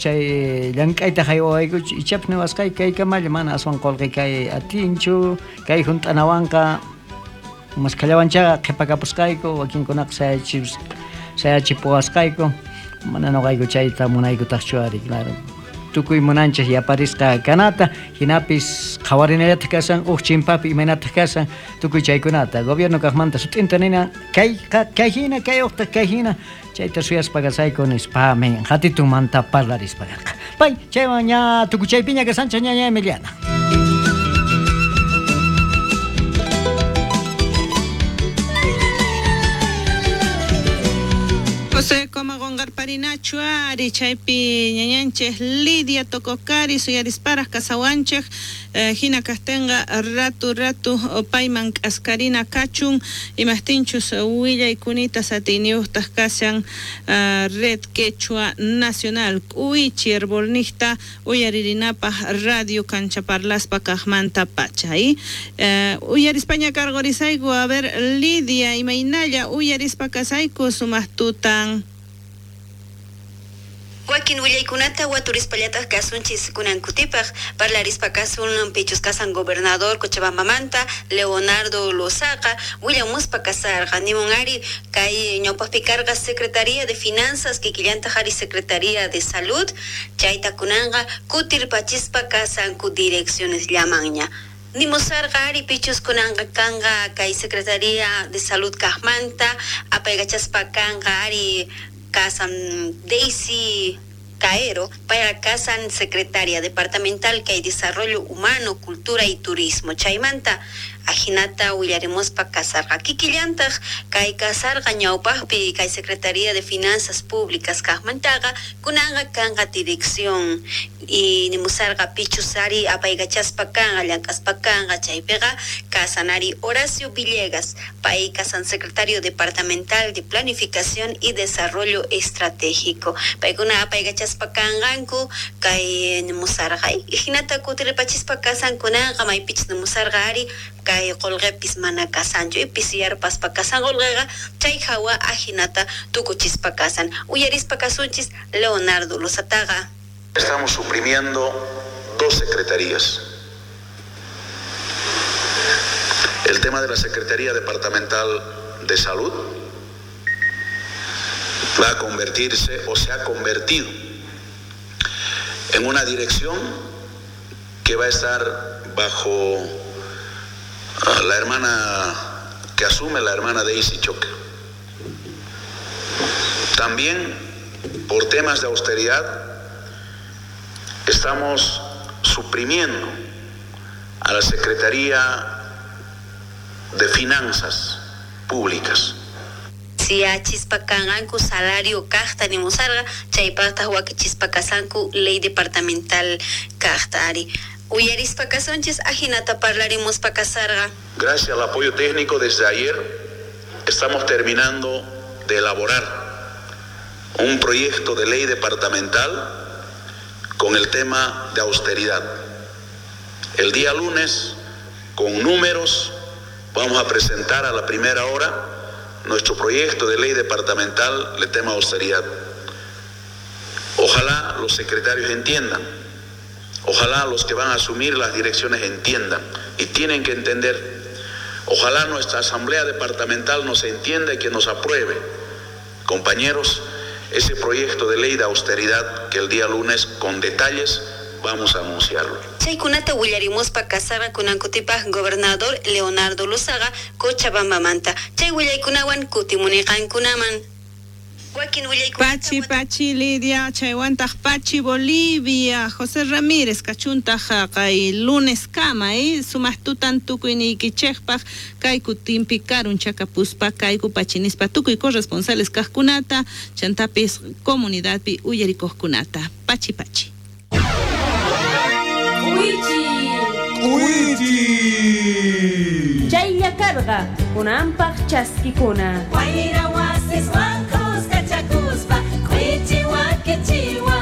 chay llank'ayta haywawaykuchu ichapis niwasqayku kaykamalla mana aswan qolqe kay atinchu kay hunt'anawanqa maskhallawanchaqa qhipakapusqayku wakinkunaqa sayachipuwasqayku mana noqayku chayta munaykutaqchu ari claro tukuy munanchej yaparisqa kanata hinapis qhawarinallataq kashan uj chimpapi imaynataq kashan tukuy chaykunata gobierno kaqmanta sut'inta nina kayqa kay hina kay uqtaq kay hina chayta suyaspa kasayku nispamin hatitunmanta parlarispa karqa pay chaywan ña tukuchaypiña kasanchej ñaña Emiliana. José Coma Gongarparinachu ari chaypi ñañanchej Lidia Tococari suyarisparaj kasawanchej hina kajtenqa ratu ratu payman k'askarina kachun imajtinchus willaykunita satiyniyuqtaq kashan Red Quechua Nacional k'uichi herbolnijta uyaririnapaj radio kanchaparlaspa kajmanta pacha uyarispaña karqorisayku a ver Lidia imaynalla uyarispa kasayku sumaq tutan. Wakin willaykunata waturispallataj kasunchis kunankutipaj parlarispa kasun pichus kasan gobernador Cochabambamanta Leonardo Lozaga willamuspa kasarqa nimun ari kay ñawpaqpi karqa Secretaría de Finanzas kikillantaq ari Secretaría de Salud chayta kunanqa kutirpachispa kasanku direcciones llamanña. Nimusarqa ari pichus kunanqa kanqa kay Secretaría de Salud kajmanta apaykachaspa kanqa ari kasan Daisy Caero para kasan Secretaria Departamental kay Desarrollo Humano, Cultura y Turismo. Chaymanta ajinata willarimospa kasarqa kikillantaq kay kasarqa ñawpaqpi kay Secretaría de Finanzas Públicas kajmantaqa kunanqa kanqa dirección y nimusarqa pichus ari apaykachaspa kanqa llank'aspa kanqa chaypiqa kasanari Horacio Villegas pay kasan Secretario Departamental de Planificación y Desarrollo Estratégico paykuna apaykachaspa kanqanku kay nimusarqa jinata kutiripachispa kasan kunanqa maypichus nimusarqa ari kay qolqepis mana kasanchu pisiyarpaspa kasan qolqeqa chay hawa ajinata tukuchispa kasan uyarispa kasunchis Leonardo Lozataqa. Estamos suprimiendo dos secretarías. El tema de la Secretaría Departamental de Salud va a convertirse o se ha convertido en una dirección que va a estar bajo la hermana que asume la hermana Daisy Choque. También por temas de austeridad estamos suprimiendo a la Secretaría de Finanzas Públicas. Si achispa kanqanku salario kajta nimusarqa chaypaqtaq wakichispa kasanku ley departamental kajta ari. Uyarispa kasunchis ajinata parlarimuspa kasarqa. Gracias al apoyo técnico desde ayer estamos terminando de elaborar un proyecto de ley departamental con el tema de austeridad. El día lunes, con números, vamos a presentar a la primera hora nuestro proyecto de ley departamental del tema austeridad. Ojalá los secretarios entiendan, ojalá los que van a asumir las direcciones entiendan y tienen que entender. Ojalá nuestra asamblea departamental nos entienda y que nos apruebe. Compañeros, ese proyecto de ley de austeridad que el día lunes con detalles vamos a anunciarlo. Chaykunata willarimuspa kasarqa kunankutipaj gobernador Leonardo Lozaga Cochabambamanta. Chay willaykunawan kutimuniqankunaman. Pachi, Pachi, Lidia, chaywantaq Pachi, Bolivia, José Ramírez, kachuntaq kay lunes kama, sumaq tutan tukuyniykichejpaj kayku timpi karun chakapuspa kayku pachinispa tukuy corresponsales kajkunata, chantapis comunidadpi uyarikuqkunata. Pachi, Pachi. K'uichi. K'uichi. Chaylla karqa kunanpaq chaskikuna. Wayra wasiswan kuskachakuspa k'uichi wakichiwa.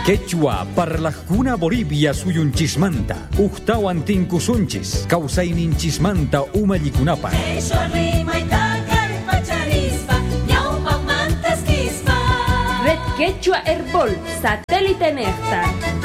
Quechua parlajkuna Bolivia suyunchismanta uqtawan tinkusunchis kawsayninchismanta umallikunapaq. Qhishwa rimayta kallpacharispa ñawpaqmantaskispa. Red Quechua Herbol, satélite nejta.